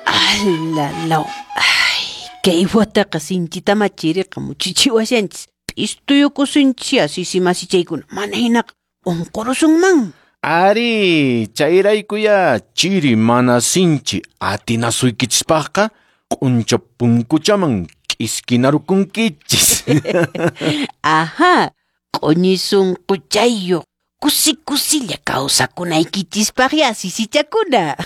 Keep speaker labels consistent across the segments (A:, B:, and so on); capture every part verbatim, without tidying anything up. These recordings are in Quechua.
A: Alalaw. Ay, kay wataqa sinchitama chiriqa muchichiwashanchis. P'istuyukusunchis sisi masichaykuna. Mana hinaqa unqurusunman.
B: Ari, chayraykuya chiri mana sinchi atinasuykichispaqqa q'uncha punkuchaman k'iskinarukunkichis.
A: Aha, q'uñi sunquchayuq kusi kusilla kawsakunaykichispaqya sisichakuna.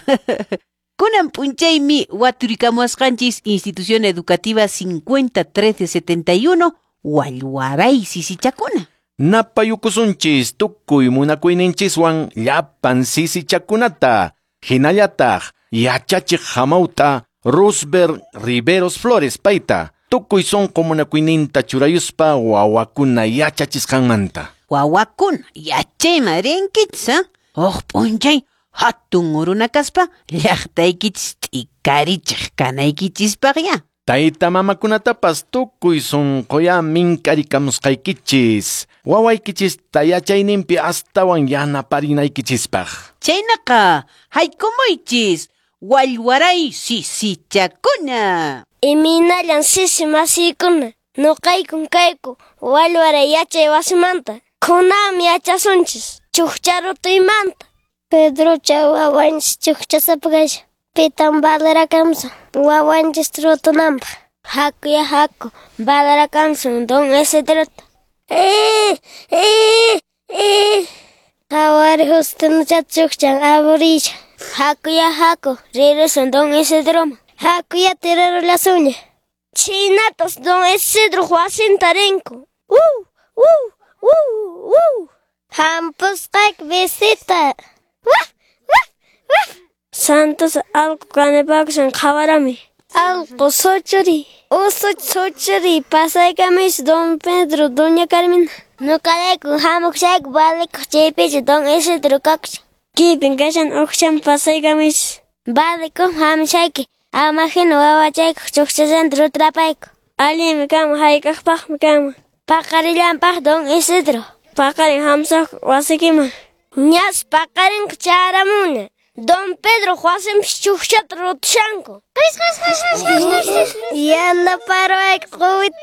A: Kunan p'unchaymi waturikamuwasqanchis Institución Educativa cincuenta trece setenta y uno Wallwaray sisichakuna.
B: Napayukusunchis tukuy munakuyninchiswan llapan sisichakunata. Hinallataq yachachiq hamawta Rosberg Riveros Flores payta tukuy sunqu munakuyninta churayuspa wawakuna yachachisqanmanta.
A: Wawakuna yachayman rinkichis, ha? Huk p'unchay hatun runa kaspa llaqtaykichis t'ikarichiq kanaykichispaqya.
B: Tayta mamakunatapas tukuy sunquya mink'arikamusqaykichis. Wawaykichista yachayninpi astawan yanaparinaykichispaq.
A: Chaynaqa haykumuychis Wallwaray sisichakuna.
C: Imaynallan sisi masiykuna, nuqaykun kayku Wallwaray yachay wasimanta. Kunanmi yachasunchis chukcha rutuymanta. Pedrocha wawanchis chukchasapa kashan. Pitan valorakamusun wawanchis rutunanpaq. Hakuya haku valorakamusun don Isidrota. Eh, eh, eh. Qhawari Justinochata chukchan aburisha. Hakuya haku rirusun don Isidroman. Hakuya tirarullasunña. Chhaynatas don Isidro wasinta rinku. Wuu, wuu, wuu, wuu. Hampusqayki visita. Waf, waf, waf.
D: Santos allqu kanipakushan qhawarami.
C: Allqu suchuri, usuch suchuri, pasaykamis
D: don Pedro, doña Carmina.
C: Nuqarayku hamuqshayku valikuq chaypichu don Isidro kakushan.
D: Kipin kashan uqshan pasaykamis.
C: Valikuq hamushayki, ama hina wawachaykuq chukchallanta rutrapayku.
D: Allinmi kanman, hayk'aqpaqmi kanman.
C: Paqarillanpaq don Isidro.
D: Paqarin hamusaq wasikiman.
C: Ñas paqarinqa chayaramunña. Don Pedro wasinpis chukchata rutushanku. Yanaparuwayku quwit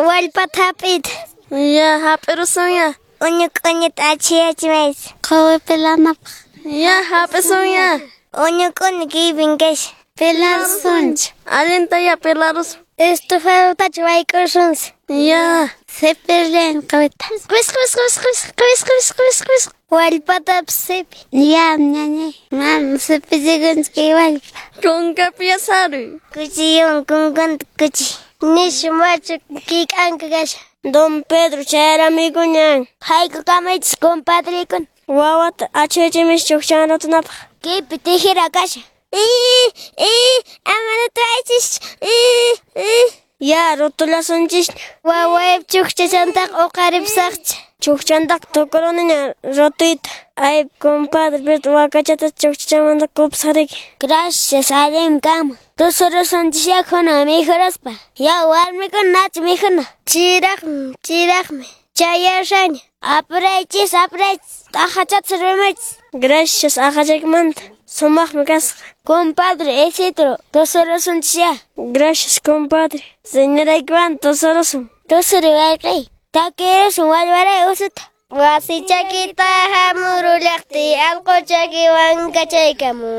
C: wallpata hap'iyta.
D: Ya, hap'irusunya.
C: Uñu k'uñuta achhiyachimaychis. Quwi pilanapaq.
D: Ya, hap'isunya.
C: Uñu k'uñu kaypin kashan. Pilarusunchis.
D: Allinta ya pilarusun.
C: Estofadutachu wayk'usunchis.
D: Ya.
C: Sipirllan quwita. Qis qis qis qis qis qis qis qis. Wallpatapas sipi. Ya, ñañay. Mana sipichikunchu kay wallpa.
D: Kunkapi saruy.
C: Kuchiyuwan kunkanta kuchi. Nishu machu kik'anka kashan.
D: Don Pedro chayaramuykuñan.
C: Haykukamaychis compadrekuna.
D: Wawata achhiyachimis chukchan rutunapaq.
C: Kaypi tijera kashan. Ii, ii, ama rutuwaychischu. Ii, ii.
D: Ya, rutullasunchisña.
C: Wawaypa chukchachantaqa uqaripusaqcha.
D: Chukchantaqa tukuruniña rutuyta. Ay, compadre, pero wakachata chukchachamanta kupusqariki.
C: Gracias, allinmi kanman. Tusurusunchis kunan mikhuruspa. Ya, warmikuna nachu mikhuna. Chiraqmi, chiraqmi. Chayashaña. Apuraychis, apuraychis. T'aqachata sirvimaychis.
D: Gracias, aqachaykimanta. Sumaqmi kasqa.
C: Compadre Isidro, tusurusunchis ya.
D: Gracias, compadre. Señoraykiwan tusurusun.
C: Tusuri wayqiy. Takirusun Wallwaray usuta. Wasi chakita hamurullaqtiy allqu chakiwan kachaykamu.